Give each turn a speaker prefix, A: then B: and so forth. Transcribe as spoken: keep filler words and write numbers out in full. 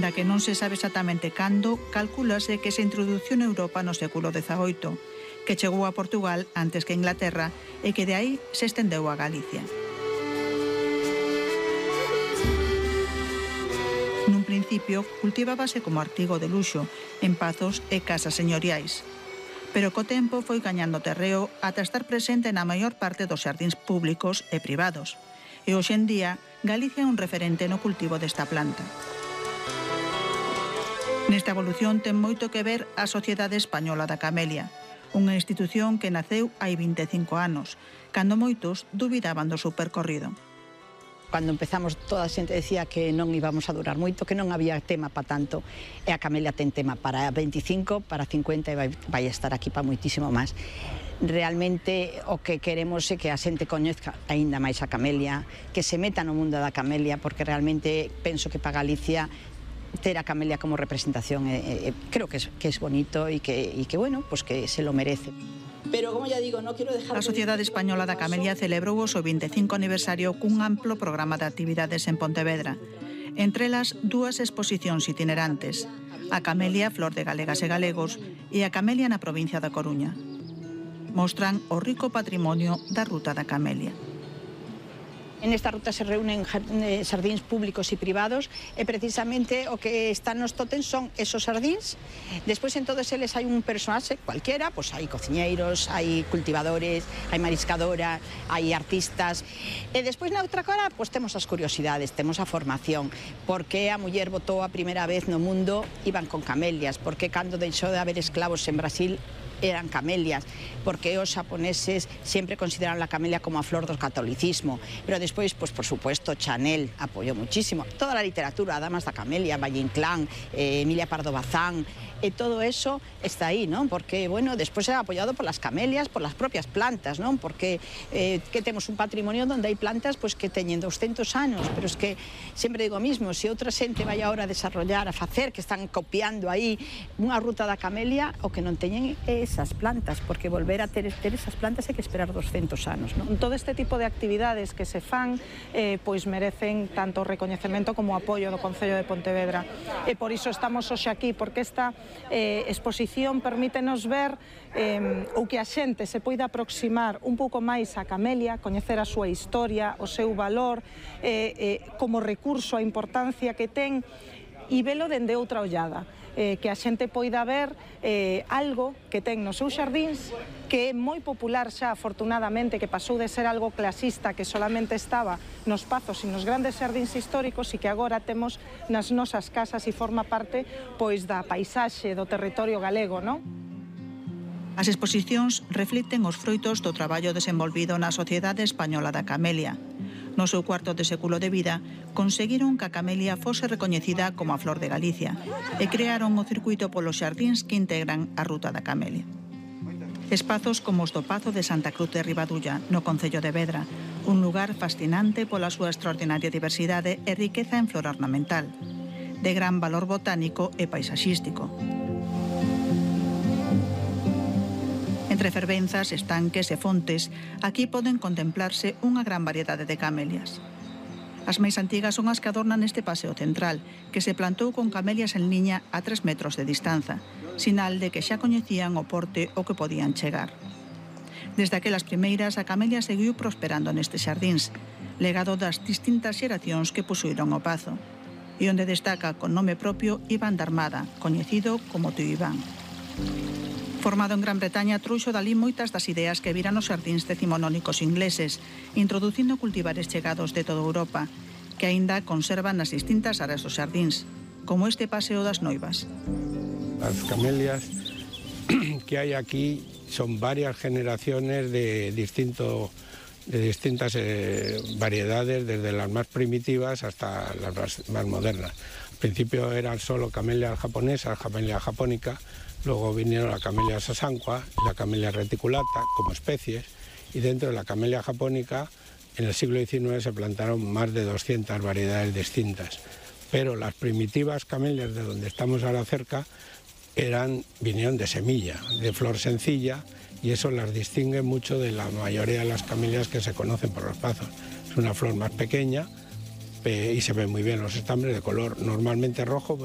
A: Aínda que non se sabe exactamente cando, calcúlase que se introduciu en Europa no século dezaoito, que chegou a Portugal antes que a Inglaterra e que de aí se estendeu a Galicia. Nun principio, cultivábase como artigo de luxo en pazos e casas señoriais, pero co tempo foi gañando terreo ata estar presente na maior parte dos xardíns públicos e privados, e hoxe en día Galicia é un referente no cultivo desta planta. Nesta evolución ten moito que ver a Sociedade Española da Camelia, unha institución que naceu hai vinte e cinco anos, cando moitos dubidaban do seu percorrido.
B: Cando empezamos toda a xente decía que non íbamos a durar moito, que non había tema para tanto, e a Camelia ten tema para veinticinco, para cincuenta e vai, vai estar aquí para moitísimo máis. Realmente o que queremos é que a xente coñezca aínda máis a Camelia, que se meta no mundo da Camelia, porque realmente penso que para Galicia ter a Camelia como representación eh, eh, creo que es, que es bonito e que, y que, bueno, pues que se lo merece. Pero, como ya digo, no quiero dejar...
A: A Sociedade Española da Camelia celebrou o seu vinte e cinco aniversario cun amplo programa de actividades en Pontevedra. Entre elas, dúas exposicións itinerantes, a Camelia, Flor de Galegas e Galegos, e a Camelia na provincia da Coruña. Mostran o rico patrimonio da Ruta da Camelia.
B: En esta ruta se reúnen xardíns públicos e privados e precisamente o que están nos tótems son esos xardíns. Despois en todos eles hai un personaxe cualquiera, pois hai cociñeiros, hai cultivadores, hai mariscadora, hai artistas. E despois na outra cara pois temos as curiosidades, temos a formación. Por que a muller botou a primeira vez no mundo iban con camelias? Por que cando deixou de haber esclavos en Brasil eran camelias, porque os xaponeses sempre consideraron la camelia como a flor do catolicismo, pero despois, pues, por supuesto, Chanel apoyó muchísimo, toda la literatura, Damas da Camelia, Valle Inclán, eh, Emilia Pardo Bazán, e todo eso está aí, ¿no? Porque, bueno, despois era apoyado por las camelias, por las propias plantas, ¿no? Porque eh, que temos un patrimonio donde hai plantas pues, que teñen doscientos anos, pero es que sempre digo o mismo, se outra xente vai agora a desarrollar, a facer, que están copiando aí unha ruta da camelia, o que non teñen é esas plantas, porque volver a ter, ter esas plantas hai que esperar doscientos anos, ¿no?
C: Todo este tipo de actividades que se fan eh, pois merecen tanto recoñecemento como apoio do Concello de Pontevedra, e por iso estamos hoxe aquí, porque esta eh, exposición permítenos ver eh, ou que a xente se poida aproximar un pouco máis a camelia, coñecer a súa historia, o seu valor, eh, eh, como recurso, a importancia que ten, e velo dende outra ollada. Eh, que a xente poida ver eh, algo que ten nos seus xardíns, que é moi popular xa, afortunadamente, que pasou de ser algo clasista, que solamente estaba nos pazos e nos grandes xardíns históricos, e que agora temos nas nosas casas e forma parte pois da paisaxe do territorio galego, non?
A: As exposicións reflicten os froitos do traballo desenvolvido na Sociedade Española da Camelia. No seu cuarto de século de vida, conseguiron que a camelia fose recoñecida como a flor de Galicia e crearon o circuito polos xardíns que integran a Ruta da Camelia. Espazos como os do Pazo de Santa Cruz de Ribadulla, no concello de Vedra, un lugar fascinante pola súa extraordinaria diversidade e riqueza en flora ornamental, de gran valor botánico e paisaxístico. Entre fervenzas, estanques e fontes, aquí poden contemplarse unha gran variedade de camelias. As máis antigas son as que adornan este paseo central, que se plantou con camelias en liña a tres metros de distanza, sinal de que xa coñecían o porte o que podían chegar. Desde aquelas primeiras, a camelia seguiu prosperando nestes xardíns, legado das distintas xeracións que posuíron o pazo, e onde destaca con nome propio Iván da Armada, coñecido como Tío Iván. Formado en Gran Bretaña, trouxo dalí moitas das ideas que viran os xardíns decimonónicos ingleses, introducindo cultivares chegados de toda Europa, que aínda conservan nas distintas áreas dos xardíns, como este Paseo das Noivas.
D: As camelias que hai aquí son varias generaciones de, distinto, de distintas eh, variedades, desde las más primitivas hasta las más, más modernas. Al principio eran solo camelias japonesas, camelia japónica. Luego vinieron la camelia sasanqua y la camelia reticulata como especies, y dentro de la camelia japónica en el siglo diecinueve se plantaron más de doscientas variedades distintas. Pero las primitivas camelias de donde estamos ahora cerca eran, vinieron de semilla, de flor sencilla, y eso las distingue mucho de la mayoría de las camelias que se conocen por los pazos. Es una flor más pequeña y se ven muy bien los estambres, de color normalmente rojo, pero